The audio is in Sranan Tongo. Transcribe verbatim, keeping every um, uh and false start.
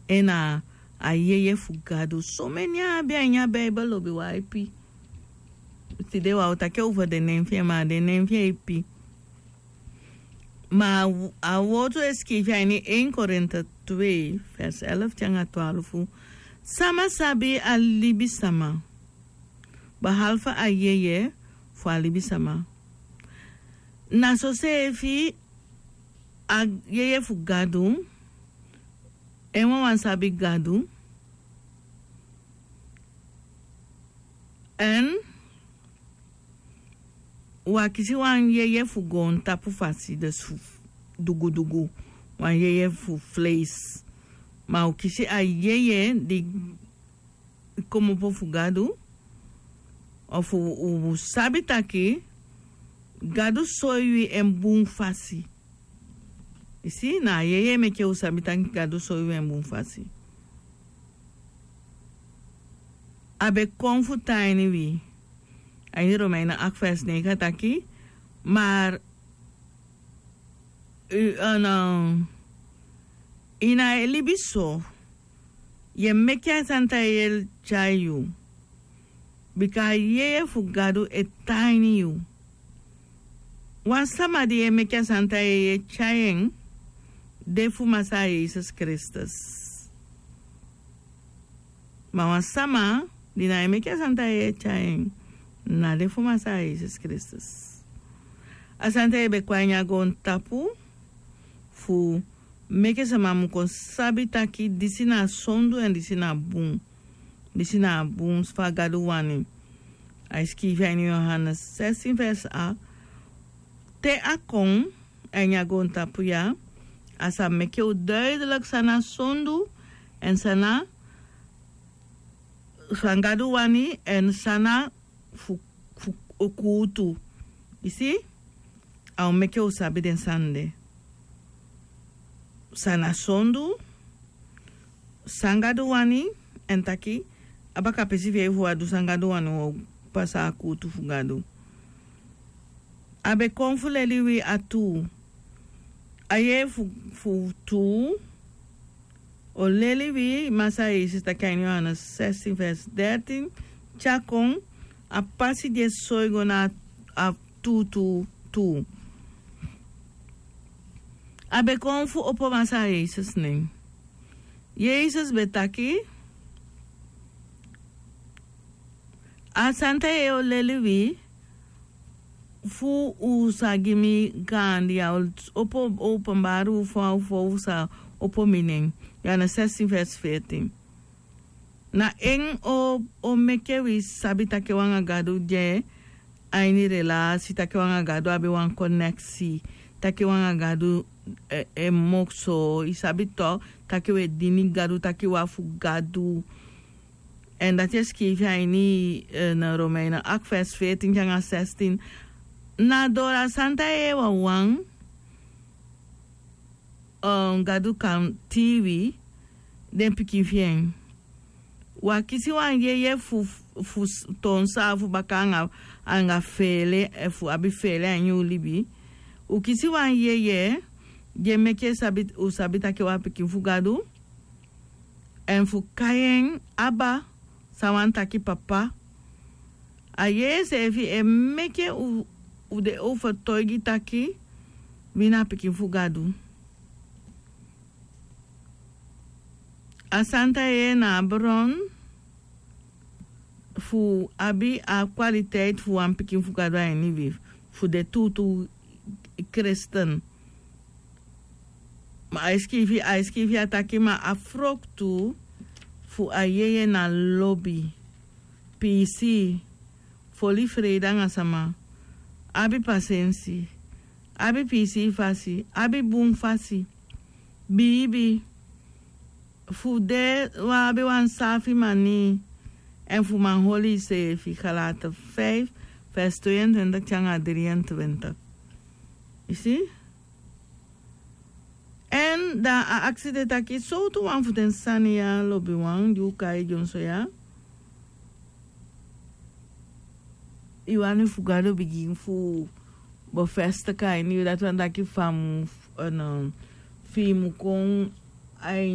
En a yeye fu Gadu. Someni a abi a ini a Bijbel lobi wan ipi. Tide wan o taki over den nen fi en, ma den nen fi en ipi. Ma a wortu e sikiifi a ini één Korinte twee vers elf te anga twaalf. Sama sabi a libisama, behalve a yeye fu a libisama. Na soseefi a yeye fu Gadu, en wawan sabi Gadu. En wi a kisi wan yeye fu goontapu fasi, dus fu dugudugu, wan yeye fu fleisi. Ma u kisi a yeye di komopo fu Gadu, ofu u sabi taki Gadu soi wi en bun fasi. I si, na a yeye meke u sabi taki Gadu soi wi en bun fasi. A be kon fu tan ini wi. A ini Romeinen acht vers negen a taki, maar u, en, eh, yu na e libi so, yu e meke a santa yeye tyai yu. Bika a yeye fu Gadu e tan ini yu. Wan sama di e meke a santa yeye tyai en, de fu Masaa Yesus Kristus. Ma wan sama di na e meke a santa yeye tyai en, na de fu Masaa Yesus Kristus. A santa yeye be kon a ini a goontapu fu meke sama mu kon sabi taki disi na sondu en disi na bun. Disi na a bun fa Gadu wani. A e sikiifi a ini Yohanes sestien vers acht. Te a kon a ini a goontapu ya, a sa meke u duidelijk san na sondu, en san na, san Gadu wani, en san na fu, fu kuutu. I si? A o meke u sabi den sani de. San na sondu, san Gadu wani, en taki a baka pisi fi en fu a du san Gadu wani, wi o pasa a kuutu fu Gadu. A be kon fu leli wi a tuu. A yeye fu, fu tuu o leli wi, Masaa Yesus taki a ini Yohanes sestien vers dertien, te a kon, a pasi di e soi go na a tuu, tuu, tuu. A be kon fu opo Masaa Yesus nen. Yesus be taki, a santa yeye o leli wi, fu u sa gi mi gaandi, a o opo, openbaar u fa, fa u sa opo mi nen. Yohanes sestien vers veertien. Na en o, o meke wi sabi taki wi anga Gadu de a ini relasi, taki wi anga Gadu abi wan koneksi, taki wi anga Gadu e, e mokso, i sabi toch, taki wi e dini Gadu, taki wi a fu Gadu. En dati e sikiifi a ini, eh, na Romeinen acht vers veertien te anga zestien. Na doro a santa yeye wawan, eh, Gadu kan tii wi, den pikin fi en. Wi a kisi wan yeye fu, fu s-, toon saafu baka anga, anga feele, eh, fu abi feele a ini u libi. U kisi wan yeye di e meke sabi, u sabi taki wi a pikin fu Gadu. En fu kai en Abba, san wani taki Papa. A yeye seefi e meke u, u de overtuigi taki wi na pikin fu Gadu. A santa yeye na a bron fu abi a kwaliteit fu wan pikin fu Gadu a ini wi, fu de tuutuu kristen. Ma a e sikiifi, a e sikiifi a taki, ma a froktu fu a yeye na lobi, piisii, fu oli freide anga sama, abi pasensi, abi piisii fasi, abi bun fasi, biibi, fu de wan, abi wan saafi manii, en fu man holi iseefi. Galaten vijf vers tweeëntwintig te anga drieëntwintig. I si? En dan a aksi de taki, sowtu wan fu den sani ya, lobiwan, di u kai dyonso ya, i wani fu Gadu bigin fu bevestig a ini yu, dati wani taki fa a mu, eh, no, fi i mu kon a ini